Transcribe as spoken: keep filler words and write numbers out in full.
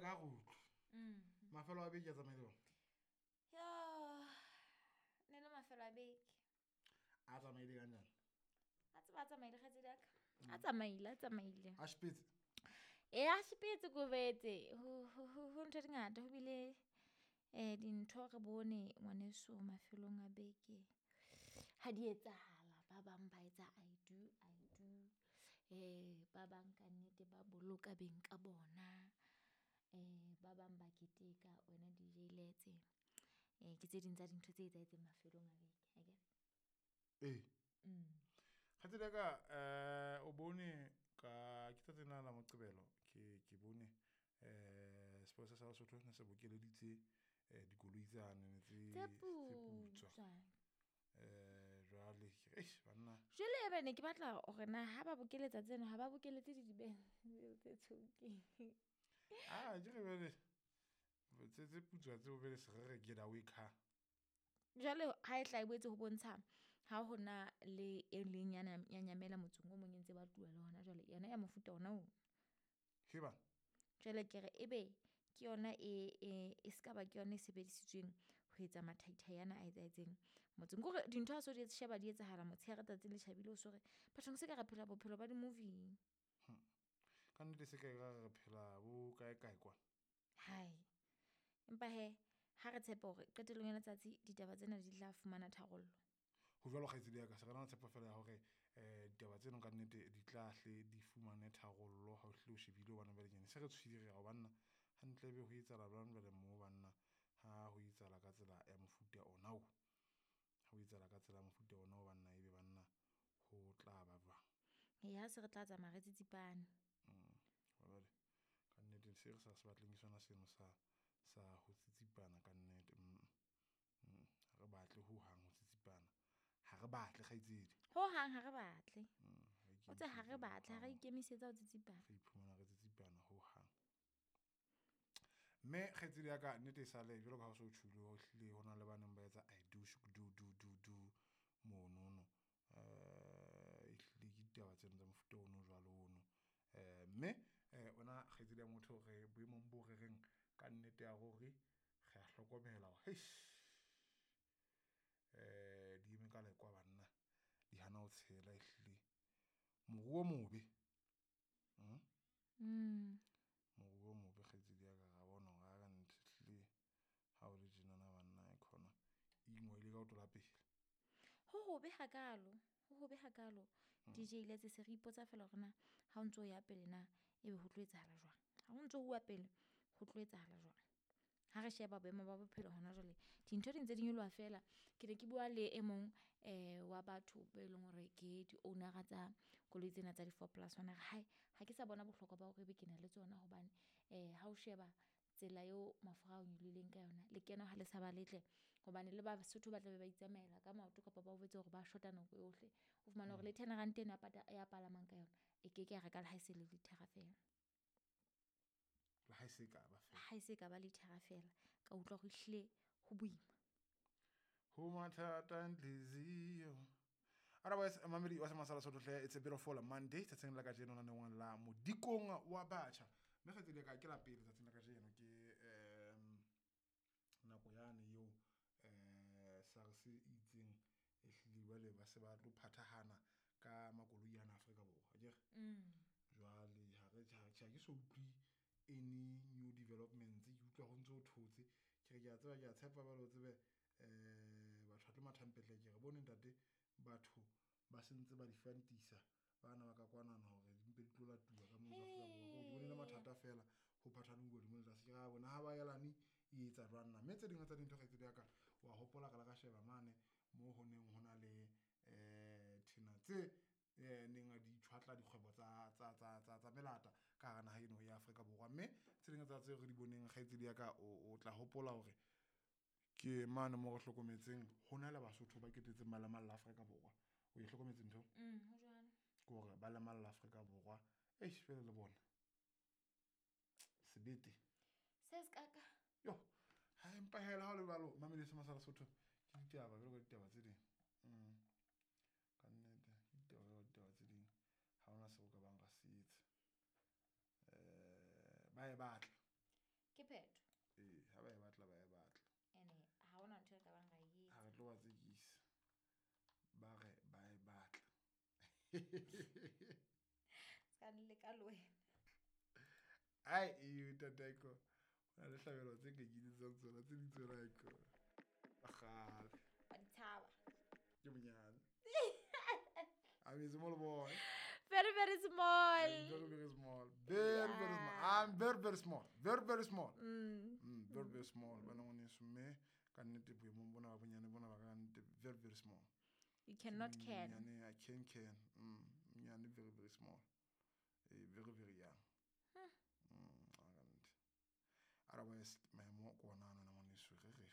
ka re utlwe mafelo a beke a tsamaile jwang? Yo, ne le mafelo a beke. A tsamaile kanjani? A tseba a tsamaile kgaitsedi ya ka. A tsamaile, a tsamaile. A shipetse? E a shipetse ko betse. Ho ho ho ntho di ngata ho bile eh dintho re bone ngwaneso mafelong a beke. Ha di etsahala ba bang ba etsa I do, I do. Eh ba bang ka nnete ba boloka beng ka bona. Eh ba bang ba keteka wena D J Letse. Eh ke tse ding tsa dintho tse etsahetseng mafelong a beke, akere? Ee. Mm. Kgaitsedi ya ka, eh o bone ka ke tsatsing la la Moqebelo ke ke bone eh sepolesa sa Lesotho ne se bokeleditse eh dikoloi tsane tse Tse tse putswa. putswa. Eh jwale ke re eish banna. Jwale ebe ne ke batla hore na ha ba bokeletsa tseno ha ba bokeletse di dibenz tse tshokeng. Ah, ke re jwale tse tse putswa tseo bele se re re get away car. Jwale ha e tla e boetse ho bontsha ha hona le e leng ya ya nyamela motseng o mong e ntse ba tluwa le hona jwale yona ya mofuta ona oo. He bana. Jwale ke re ebe ke yona e e e ska ba ke yona e sebedisitsweng ho etsa mathaithai ana a etsahetseng motseng. Kore dintho ha so di sheba di etsahala motshehare tsatsi le tjhabile o so re bathong se ka re phela bophelo ba di-movie. Hmm. Ka nnete se ka re re phela bo kae kae kwa. Hai. Empa he ha re tshepe hore qetellong ya letsatsi ditaba tsena di tla fumana tharollo. Ho jwalo kgaitsedi ya ka, se re na le tshepo fela ya hore eh ditaba tseno ka nnete di tla hle di fumane tharollo ha o hlile o shebile hobane jwale ke se re tshohile re ya ho banna hantle ebe ho etsahala jwang jwale mo banna ha ho etsahala ka tsela ya mofuta ona o. Ha ho etsahala ka tsela ya mofuta ona o banna ebe banna ho tla ba jwang. E ha se re tla tsamaya re tsitsipane. Mm. Jwale ka nnete se re sa se batleng ke sona seno sa sa ho tsitsipana ka nnete. Mm. Mm. Ha re batle ho hang ho tsitsipana. Ha re batle kgaitsedi. Ho hang ha re batle. Mm. O tse ha re batle, ha re ikemisetsa ho tsitsipana. Re iphumana re tsitsipana ho hang. Mme kgaitsedi ya ka nnete e sale jwalo ka ha o so tjhulo ho hlile ho na le ba neng ba etsa I do do do do do monono. Eh ehlile ke ditaba tseno tsa mofuta ono jwalo ono. Eh mme eh ona kgaitsedi ya motho re boemong bo re reng ka nnete ya hore re a hlokomela hore heish eh di eme ka lekwa banna di hana ho tshela ehlile moruo mobe. Mm. Mm. Moruo mobe kgaitsedi ya ka ra bona hore ha ka nnete ehlile ha o le tjenana banna e khona e ingwele ka ho tola pele. Ho hobe hakalo, ho hobe hakalo. D J Letse se re ipotsa fela hore na ha o ntso ya pele na ebe ho tlo etsahala jwang. Ha o ntso huwa pele ho tlo etsahala jwang. Ha re sheba boemo ba bophelo hona jwale dintho di ntse di nyoloha fela. Ke ne ke bua le e mong eh wa batho be leng hore ke di-owner-a tsa koloi tsena tsa di-four plus one. A re hae ha ke sa bona bohlokwa ba hore ebe ke na le tsona hobane eh ha o sheba tsela eo mafura a nyolohileng ka yona lekeno ha le sa ba letle hobane le Basotho ba tla be ba itsamaela ka maoto kapa ba o jwetse hore ba shota nako yohle. O fumane hore le ten rand eno a palamang ka yona e ke ke ya reka le ha e se le lithara fela. Le ha e se ka ba fela. Ha e se ka ba lithara fela. Ka utlwa hore ehlile ho boima. Ho mathata nhliziyo. Otherwise mamedi wa Semasala Sotho hle, it's a beautiful Monday tsatsing la kajeno naneong la modikong wa batjha. Mme kgaitsedi ya ka ke la pele tsatsing la kajeno ke um nako yane eo eh SARS e itseng ehlile jwale ba se ba tlo phathahana ka makoloi ana Afrika Borwa akere. Mm. Jwale ha re ha ke so utlwe any new developments, ke utlwa ho ntso ho thotse. Ke re ke a tseba ke a tshepa jwale o tsebe eh batho ba tlo matha ke re bone ntate batho ba sentse ba di fantisa bana ba ka kwanana hore di mpe di tlo latuwa ka moo Afrika Borwa. Ke bone le mathata fela ho phathaneng hodimo le tlase. Ke ra bona ha ba yelane e etsa jwang na. Mme tse ding tsa dintho kgaitsedi ya ka wa hopola re la ka sheba mane moo ho neng ho na le eh thena tse eh neng di tjhwatla dikgwebo tsa tsa tsa tsa tsa melata ka hara naha eno ya Afrika Borwa. Mme tse ding tsa tseo re di boneng kgaitsedi ya ka o tla hopola hore ke mane moo re hlokometseng ho na le Basotho ba ketetseng ba lemalla Afrika Borwa. O e hlokometse ntho? Mm, ho jwalo. Ke hore ba lemalla Afrika Borwa. Eish fela le bona. Sebete. Se se ka ka. Yo, ha empa hela ha o le jwalo mamedi Semasala Sotho ke ditaba jwalo ka ditaba tse ding. Mm. Ka nnete ke ditaba jwalo ka ditaba tse ding. Ha hona seo ka bang ra se etsa. Eh ba e batla. phetho. Ee, ha ba e batla ba e batla. Ene ha hona ntho e ka bang ra e Ha etsa. re tlo ba tsekisa. Ba re ba e batla. Ska nleka le wena. Ai, e ntate ko. Ho na le hlabelo tse nka iketsetsang tsona tse ding tsona ko. Kgale. Wa di tshaba. Ke monyane. I'm a small boy. Very, very small. I'm very, very small. Very, very small. I'm very, very small. Very, very small. Mm. Mm, very, very small. Bana ngwaneso mme ka nnete boemong bona ba bonyane bona ba ka nnete very, very small. You cannot can. Monyane, I can can. Mm, monyane very, very small. Eh, very, very young. Mm, a ka nnete. Otherwise, maemo ke ona ano ngwaneso re re.